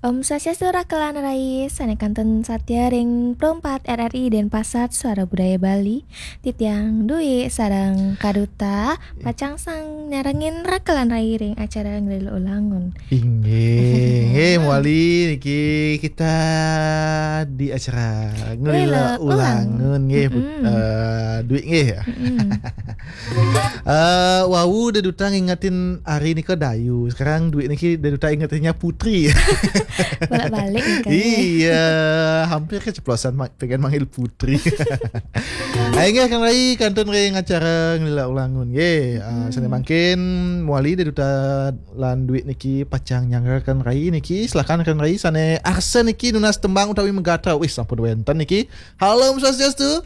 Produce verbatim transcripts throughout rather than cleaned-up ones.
Om Swastiastu, rakelan rai sané kantun satia ring Pro empat R R I Denpasar, Suara Budaya Bali. Titiang Dwi sareng Kaduta pacang sang nyarengin rakelan rai ring acara Ngelila Ulangun. Inggih, nggih, mawali niki kita di acara Ngelila Ngelila Ulangun. Ulangun, nggih, Put-, Mm-mm. eh, Dwi, nggih. Mm-mm. Eh, wau Dé Duta ngingetin ari nika Dayu. Sekarang Dwi niki Dé Duta ingetinnya Putri. Bolak-balik nih, Kak. Iya, hampir keceplosan ma-, pengen manggil Putri. Ayo, nggih, Kang Rai, kantun ring acara Ngelila Ulangun. Nggih, eh, Hmm. sané mangkin mawali Dé Duta lan Dwi niki pacang nyanggra Kang Rai niki. Silakan Kang Rai, sané arsa niki nunas tembang utawi magatra. Wih, sampun wénten niki. Halo, Om Swastiastu.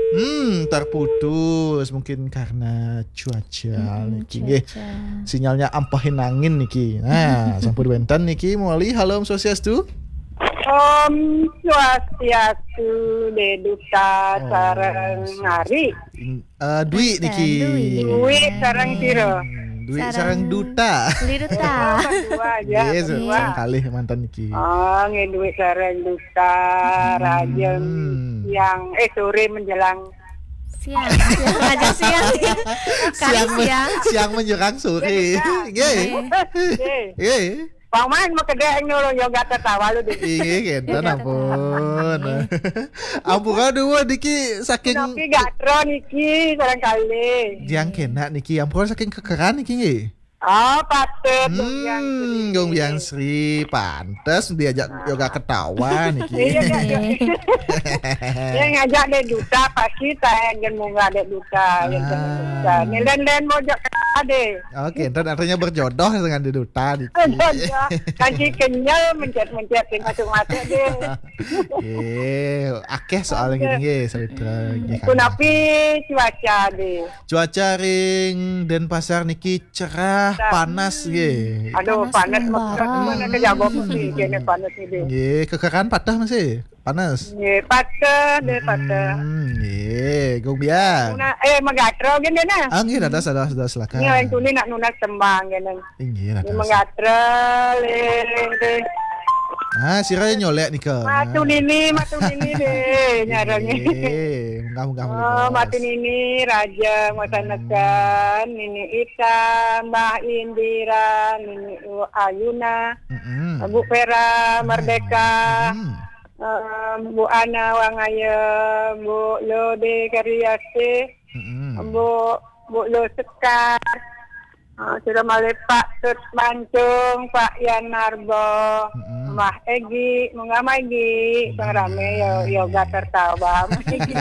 Hmm, terputus mungkin karena cuaca Mm-mm, niki, nggih. Cuaca. Sinyalnya ampahin angin niki. Nah, sampun wénten niki mawali. Halo, Om Swastiastu. Om Swastiastu, Dé Duta Om sareng Swastiastu. Ari. Ing-, eh, Dwi Bukan, niki. Dwi. Dwi sareng sira? Hmm, Dwi sareng Sareng Duta. Dwi Duta. Oh, berdua aja, Yes, berdua. Sang kalih manten niki. Oh, nggih, Dwi sareng Duta, Hmm. rajeng siang, eh, sore menjelang. Siang, siang aja siang. Kali Siang men-, siang. Siang menjelang sore. Iya, Duta. Nggih. Nggih. Nggih. Nggih. Paman makedék nulung yoga tertawa lu deh. Inggih, kénten Yoga ampun. Tertawa. Ampura duwur niki saking Napi gatra niki sareng kalih. Tiang kénak niki, ampura saking Kekeran niki nggih. Oh, patut, Gung Biang Sri. Hmm, Gung Biang Sri, pantes diajak yoga ketawa niki. Iya, Kak. Iya. Dia ngajak Dé Duta, pasti saya gen munggah Dé Duta, gen Ah. Dé Duta. Ni lain-lain mau ajak ketawa deh. Oke, ntar artinya berjodoh dengan Dé Duta niki. Jodoh. Kanci kenyel, mencet-mencet, sing masuk-masuk deh. Nggih, akeh soal Oke. Gini nggih, Sawitra. Hmm. Nggih, Kang. Punapi cuaca deh? Cuaca ring Denpasar niki cerah, Cerah. Panas nggih. Aduh, Panas panas membara. Mekar. Mana ke jago putih, kene panas ini. Nggih, Kekeran patah masih? Panas? Nggih, patah deh, patah. Hmm, nggih, Gung Biang. Nuna-, eh, magatra gini nah. Ah, nggih, dados, dados, dados, silakan. Ini orang tuli nak nunas tembang gini. Inggih, Ini dados. Magatra, le, le. Ah, sira nyolek nika. Matu Nah. Nini, Matu Nini deh, nyarang. Nggih, munggah-munggah Oh, menika. Matu Nini, Raja, Masanekan, Hmm. Nini Ita, Mbah Indira, Nini U-, Ayuna, Mm-mm. Bu Vera, Merdeka, Mm-mm. eh, Bu Ana, Wangaya, Bu Lode Kariase, Mm-mm. Bu, Bu Lo Sekar, eh, sira malih Pak Tut Mancung, Pak Yan Narbo, Mm-mm. Mbah Egi, munggah Mbah Egi, sing Munggah rame ya, Mbah yoga Egi. Tertawa, Mbah Egi.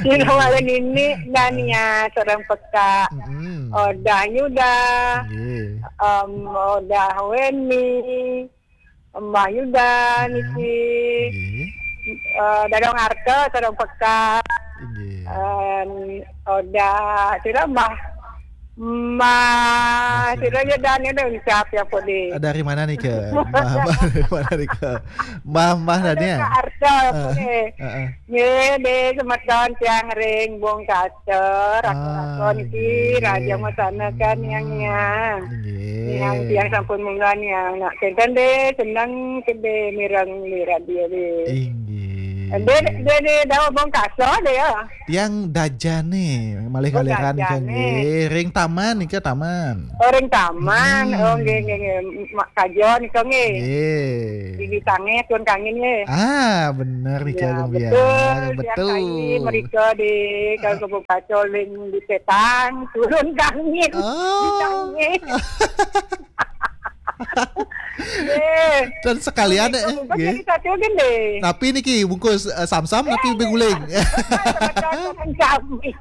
Sira malih Nini, Dania, sareng Peka, Mm-mm. Odah Yuda, Nggih. em, Odah Weni, Mbah Yuda Mm-mm. niki, Nggih. eh, Dadong Arta, sareng Peka, Nggih. em, Odah, sira Mbah, Mbah Mbah sira sira. Ya, Dania, ucap ya, Podi. Ah, dari mana nih, Kak? Mbah, Mbah dari mana nih, Kak? Mbah, Mbah Ada Dania? Kak Arta, Eh, Podi. eh, eh. Nggih, nggih, semeton tiang ring Bungkaster, Ah, rakan-rakan nggih. Ki, Raja Masana kan yang, yang. Nggih. Yang tiang sampun munggah yang nak kenten deh, seneng kedé mireng di radio deh. Inggih, Deh, inggih. Deh, deh, dawa Bungkaster deh ya. Tiang Dajane, malih Oh, kaliran nika Dajane. Nggih, ring taman nika taman. Oh, ring taman. Hmm. Oh, nggih, nggih, nggih. Mak Kajo nika nggih. Nggih. Di Bisange, Tuan Kangin nggih. Ah, bener nika, Ya, Gung Biang. Betul. Tiang Betul. Kai mereka di, kalau ke Bukacol, ring di Petang, turun Kangin. Oh. Di Sange. Nggih. Dan sekalian, Bungkus eh, bungkus nggih. Jadi satu gini. Tapi niki bungkus, eh, samsam tapi beguling. Sama-sama kami.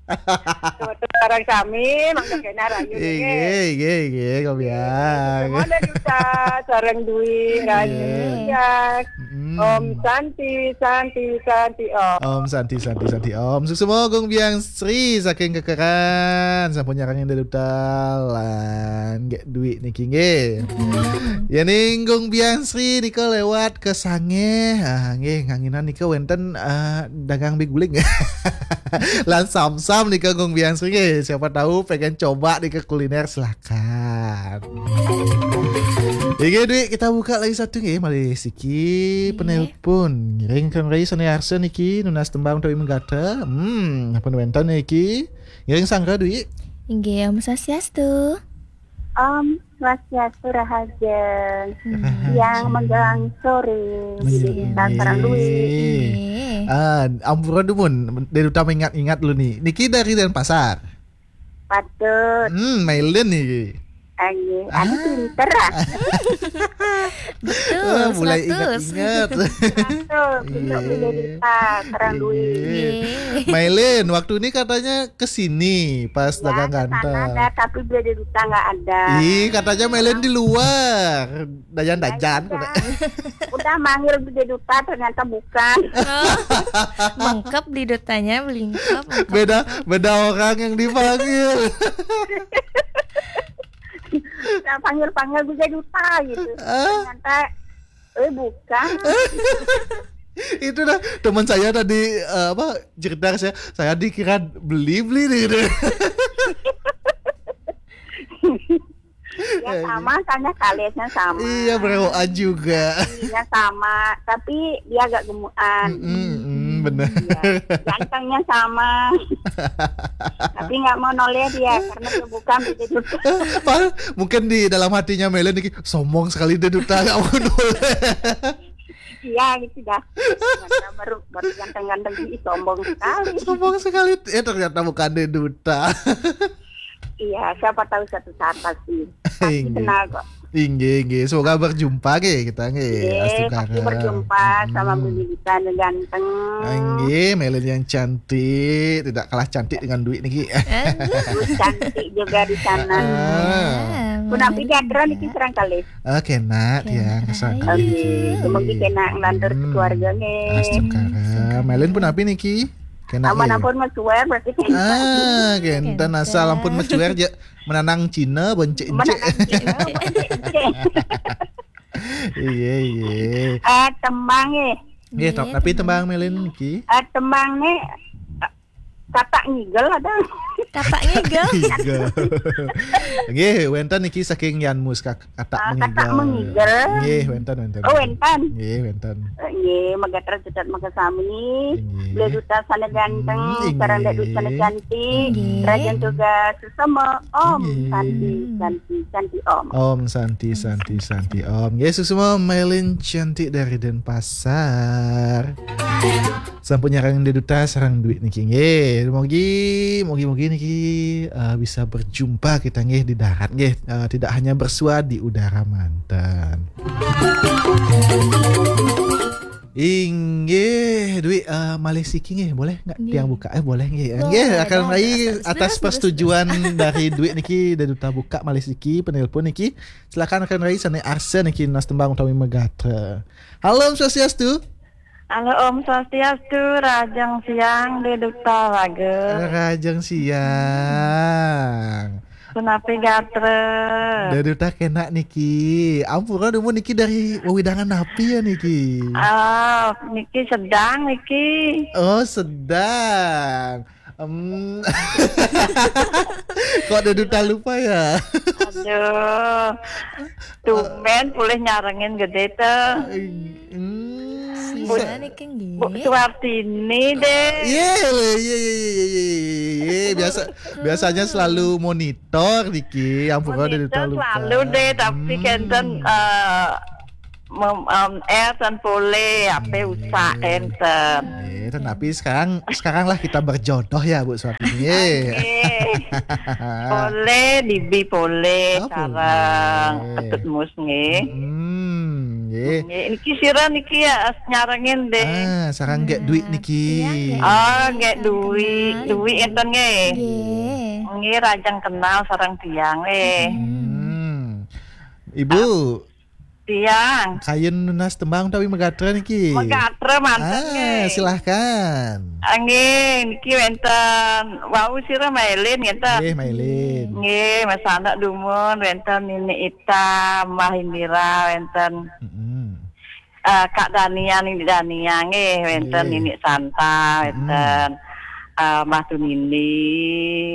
Kebetulan sami, mangga kena rayu nggih. Nggih, nggih, nggih, Gung Biang. Semua ada Duta, sareng Dwi, Rayu, Nggih. Biang. Mm. Om Santi, Santi, Santi, Om. Om Santi, Santi, Santi, Om. Suksma Gung Biang Sri saking Kekeran, sampun nyarengin Dé Duta lan Dwi niki nggih. Ya ning Gung Bian Sri nika lewat ke Sangeh. Ah, nggih, nganginan nika wenten, ah, dagang mie guling. Lan samsam nika Gung Bian Sri nggih. Siapa tahu pengen coba nika kuliner, silakan. Nggih, Dwi, kita buka lagi satu nggih, malih siki penelpon. Ngiring Kang Rai sane arsa niki nunas tembang utawi megata. Hmm, ampun wenten niki. Ngiring sangga, Dwi. Inggih, Om Swastiastu. Om Swastiastu, rahajeng. Hmm. Siang menjelang sore. Menjelang Dwi. Ah, ampura dumun, Dwi Duta mengingat-ingat dulu nih. Niki dari Denpasar. Patut. Hmm, Mailen niki. Ayo, anu pinter ah. Betul, mulai ingat-ingat. Betul, pinter Dwi Duta, terang Dwi. Mailen, waktu ini katanya ke sini pas dagang ganteng. Ada, tapi Dwi Duta nggak ada. Ih, katanya Mailen di luar. Dayan-dayan. Udah manggil Dwi Duta, ternyata bukan. Mengkep Dwi Dutanya, belingkep, mengkep. Beda, beda orang yang dipanggil. Saya panggil-panggil Dwi Duta gitu. Ternyata, eh, bukan. Itu dah teman saya tadi, eh, apa, cerita ke saya, saya dikira beli-beli nih gitu. Ya sama, tanya kalisnya sama. Iya, berewokan juga. Iya sama, tapi dia agak gemukan. Mm, mm, mm, bener. Iya. Gantengnya sama. Tapi nggak mau noleh dia karena dia bukan Dwi Duta. Mungkin di dalam hatinya Mailen niki, sombong sekali Dwi Duta, nggak mau noleh. Iya gitu dah. Baru, baru ganteng-ganteng, ih, sombong sekali. Sombong sekali. Eh, ternyata bukan Dwi Duta. Iya, siapa tahu suatu saat pasti. Pasti kenal kok. Inggih, inggih. Semoga berjumpa nggih kita nggih. Inggih, pasti berjumpa sama Dwi Duta yang ganteng. Inggih, Mailen yang cantik, tidak kalah cantik dengan Dwi niki. Aduh. Cantik juga di sana. Ah. Punapi gatra niki sareng kalih. Oke, nak, ya, kesana. Oke, semoga kena ngelantur keluarga nggih. Astu kara. Mailen punapi niki? Kena. Ampun, ampun, Mas Suwer, berarti kena. Ah, kenten asal ampun Mas Suwer, menanang Cina, bencik-encik. Menanang Cina, bencik-encik. Iya, iya. Eh, tembang, eh. Iya, tapi tembang Mailen niki. Eh, tembang nih, eh, Katak Ngigel ada. Katak Ngigel? Ngigel. Nggih, wenten niki saking Yan Mus, Kak. Katak Mengigel. Katak Mengigel. Nggih, wenten, wenten. Oh, wenten. Nggih, wenten. Eh, nggih, magatra cetet makasami. Nggih. Dwi Duta sana ganteng, sareng Dwi Duta sana cantik. Nggih. Rahajeng tugas sesama. Om Santi, Santi, Santi Om. Om Santi, Santi, Santi Om. Nggih, sesama Mailen cantik dari Denpasar. Sampun nyarengin Dwi Duta sareng Dwi niki nggih. Mugi, mugi-mugi niki, eh, bisa berjumpa kita nggih di darat nggih. Eh, tidak hanya bersua di udara manten. Inggih, Dwi, eh, malih siki nggih, boleh nggak tiang buka? Eh, boleh nggih. Nggih, akan rai atas persetujuan dari Dwi niki, Dwi Duta buka malih siki penelpon niki. Silakan akan rai sane arsa niki nunas tembang utawi magatra. Halo, Om Swastiastu. Halo, Om Swastiastu, rahajeng siang, Dwi Duta raga. Rahajeng siang. Punapi gatra? Dwi Duta kena niki. Ampura dumun niki dari wewidangan napi ya niki? Ah, niki Sedang niki. Oh, Sedang. Em. Kok Dwi Duta lupa ya? Aduh. Tumben pulih nyarengin gede to. Hmm. Sira niki nggih. Bu Suartini deh. Iya, lho, iya, iya, iya, iya, iya, iya. Biasa, biasanya selalu monitor niki, ampun, Dwi Duta lupa. Selalu deh, tapi kenten, eh, mem-, em, air dan pole, apa usah enten. Iya, tapi sekarang, sekarang lah kita berjodoh ya, Bu Suartini. Oke. Pole, dibi pole, oh, sarang pole. Ketut mus nggih. Hmm, nggih. Nggih, niki sira niki ya nyarengin deh. Ah, sarang nggih Dwi niki. Iya, nggih. Oh, nggih Dwi, Dwi enten nggih. Nggih. Nggih, rahajeng kenal sareng tiang nggih. Hmm. Ibu. Tiang. Kayun nunas tembang utawi magatra niki? Magatra manten, ah, nggih. Silahkan. Ah, nggih, niki wenten wau sira mailin ngenten. Nggih, mailin. Nggih, Mas Anak dumun wenten Nini Ita, Mbah Indira wenten. Mm-mm. Eh, Kak Dania, Nini Dania nggih, wenten. Nggih. Nini Santa, mm-mm, wenten. Eh, Mbah Tunindi,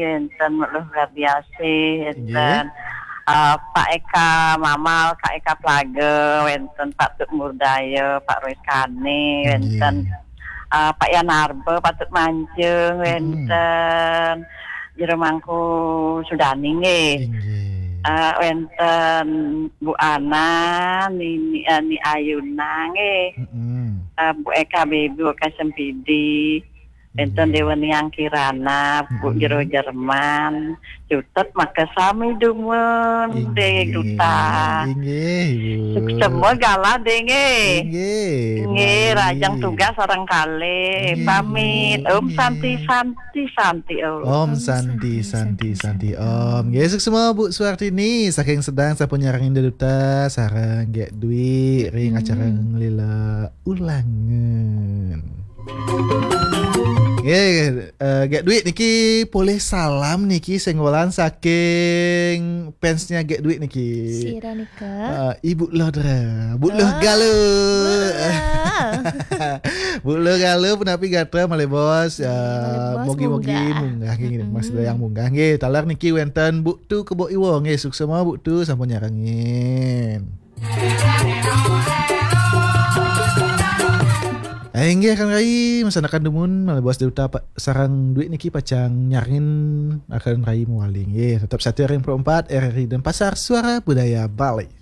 wenten Luh Gardiasih, wenten. Nggih. Eh, Pak Eka Mamal, Kak Eka Plaga, wenten Pak Tut Murdaya, Pak Roy Kane, nggih, wenten. Eh, Pak Yan Arba, Pak Tut Mancung, mm-mm, wenten. Jero Mangku Sudani nggih. Inggih. Eh, wenten Bu Ana, Nini, eh, Ni Ayuna nggih. Mm-mm. Eh, Bu Eka Bebi, Bu Eka Sempidi. Wenten. Inggih. Dewa Niang Kirana, Bu, mm-mm, Jero Jerman. Cutet maka sami dumun, inggih, Dek Duta. Inggih, Ibu. Sukses semua gala, Dek, nggih. Inggih, Bu Nggih, Wali. Rajang tugas sareng kalih. Inggih, pamit. Bu. Om Santi, inggih. Santi, Santi, Om. Om Santi, Santi, Santi, Santi, Santi, Om. Om. Nggih, sukses semua Bu Suartini saking Sedang sampun nyarengin Dek Duta sareng Gek Dwi ring, mm-mm, acara nglila ulangan. Nggih, eh, Gek Dwi niki polih salam niki sing welas saking fansnya Gek Dwi niki. Sira nika? Eh, Ibu Lodra, Bu Luh. Oh, Galuh. Bu Luh. Bu Luh Galuh, punapi gatra malih bos? Nggih, malih, eh, bos, mugi-mugi munggah. Munggah nggih, mm-mm, Mas Dayang munggah nggih. Taler niki wenten Bu Tu Kebo Iwa nggih, sukses semua Bu Tu sampun nyarengin. Eh, inggih, Kang Rai, masanakan dumun, malih bos Dek Duta pa-, sareng Dwi niki pacang nyarengin Kang Rai mawali nggih. Tetep setia ring Pro empat R R I Denpasar, Suara Budaya Bali.